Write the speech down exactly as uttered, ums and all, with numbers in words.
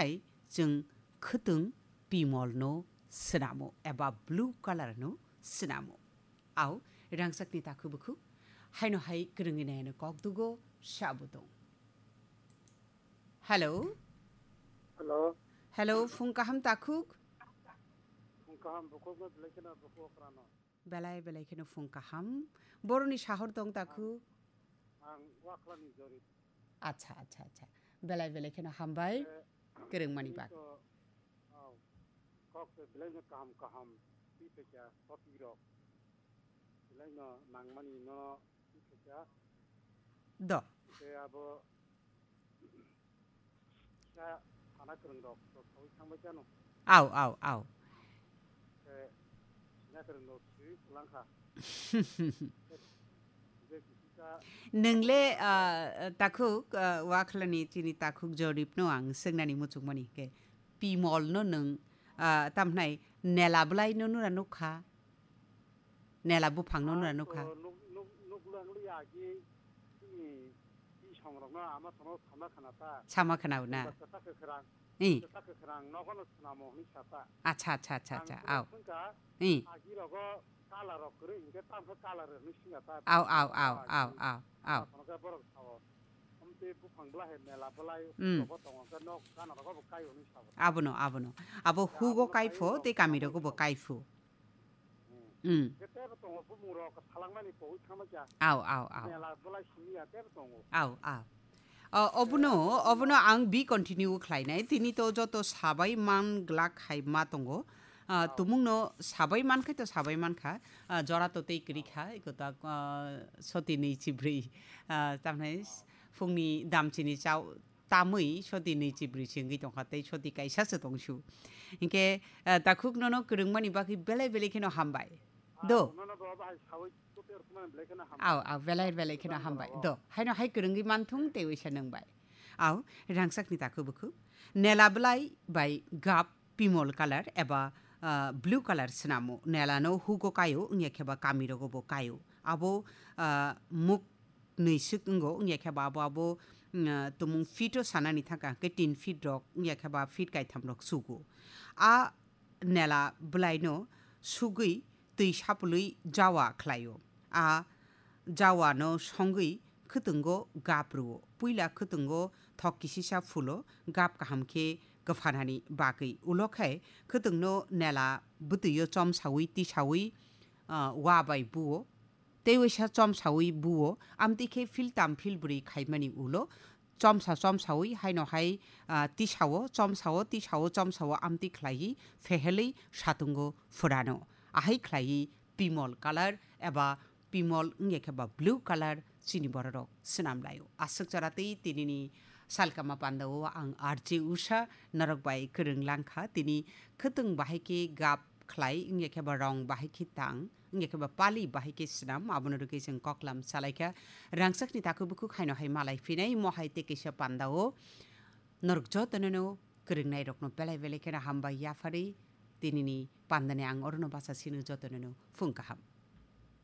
khai chwng khwtwng pimol no swnamo eba blue color no swnamo. Au, rangchakni takhuk bukhuk, haino hai kwrwngwi naino kok dugo, sabo tong. Hello? Hello? Hello, phung kaham takhuk? Phung kaham, bukhuk no belai kheno bukhuk okrano. Belai belai kheno phung kaham. Boroni sahor tong takhuk? Ang Wakhlani Jorip. Acha, acha, acha. Belai belai kheno hambai. Eh, Kwrwngmani tini bak. To, oh, kok se belai no kaham kaham. Twi phaikha, topic rok. Belai no nangmani no twi phaikha. Do. Te abo Kisa sana kwrwng rok to sawi thangbai chano. Au, au, au. Khe sina kwrwng rok swi kwlangkha. Khe kisa Nwngle, ah, takhuk, ah, Wakhlani chini takhuk Joripno ang swngnani muchungmani khe pimolno nwng, ah, tamhnai nela bwlaino nura nukha. Nela buphangno nura nukha. Nuk, nuk, nuk lang liya agi, ini, i songrokno ama sono sama khana ta. Sama khana na. Ba kwchak kwkhrang. I. Kwchak kwkhrang nogono swnamo hwnwi sa ta. Acha, acha, acha, acha. Ang au. Thangka, I. Agi rogo kala rok kwrwi, hwnkhe tamkhe kala rok hwnwi swngya ta. Au, au, au, au, au, au. Ama sono khe borok sao. Omtwi buphang bwlai hai mela bwlai, mm, rogo tongo, hwnkhe nok gana rogo bo kai hwnwi sa. Abono, abono. Abo hugo kaipho, tei kami rogo bo kaipho. Hmm. Khe tebo tongo, bumung rok salangmani pogwi thangma kya. Au, au, au. Mela bwlai simi ya tebo tongo. Au, au. O, obono, obono ang bi continue khlainai. Tini to joto sabai man glak hai ma tongo. Ah, au. Tumungno sabai man khai to sabai man kha. Ah, jora to tei kwrwi kha. Iko ta, ah, soti nwi chibrwi. Ah, tamhnai phungni damchini chao tamwi soti nwi chibrwi se wngwi tongkha tei soti kaisa se tongsu. Hinkhe, eh, takhuk nono kwrwngmani bagwi belai belai kheno hambai. Do. Ah, nono bo bahai sawi kopi rwkmani belai kheno hambai. Au, au, belai belai kheno hambai. Do. Haino hai kwrwngwi manthung tei waisa nwngbai. Au, rangchakni takhuk bukhuk. Nela bwlai bai gap pimol colour eba, ah, blue colour swnamo. Nela no hugo kaio, wngya khe ba kami rogo bo kaio. Abo, ah, muk nwi swk wngo, wngya khe ba abo, abo, mm, ah, tumung feet o sanani thangkha, hwnkhe tin feet rok, wngya khe ba feet kaitham rok sugo. A nela bwlai no sugwi twi sapulwi jawa khlaio. A jawa no songwi khwtwngo gap rwo. Puila khwtwngo thok kisisa phulo gap kaham khe kwphanani bagwi. Ulo khe khwtwng no nela bwtwi o chomsawi tisawi, ah, wa bai buo. Tei waisa chomsawi buo, amtwi khe philtam philbrwi khaimani ulo chomsa chomsawi haino hai, ah, tisao, chomsao, tisao, chomsao amtwi khlaiwi phehelwi satungo phurano. Ahai khlaiwi pimol colour eba pimol wngya khe ba blue colour chini bororok swnam laio. Aswk chara tei tinini salkama pandao ang R J Usha norok bai kwrwng langkha. Tini khwtwng bahai khe gap khlai, wngya khe ba rong bahai khe tang, wngya khe ba pali bahai khe swnam, abono rwgwi chwng koklam salaikha. Rangchakni takhuk bukhuk haino hai malai phinai, mo hai tei kaisa pandao norok jotonono kwrwngnairokno belai belai kheno hambai yapharwi, tinini pandani ang orono bacha sino jotonono phung kaham.